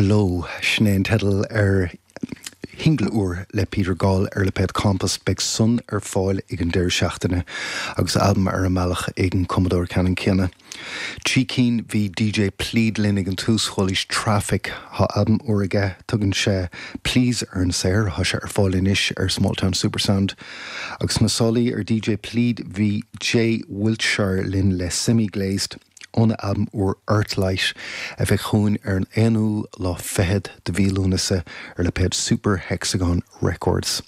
Glow, sin é an teideal ar shingil úr le Peter Gall ar lipéad Compost. Beidh san ar fáil ag an deireadh seachtaine agus albam ar an mbealach ag an cumadóir ceannann céanna. Trí cinn bhí DJ Plead linn ag an tús, chualaís Traffic. Tá albam úr aige, tugann sé Please ar an saothar, tá sé ar fáil anois ar Smalltown Supersound. Agus sna sálaí ar DJ Plead bhí Jay Wiltshire linn le Semi Glazed óna albam úr Earthlight a bheidh chugainn ar an aonú lá fichead de mhí Lúnasa ar lipéad Super Hexagon Records.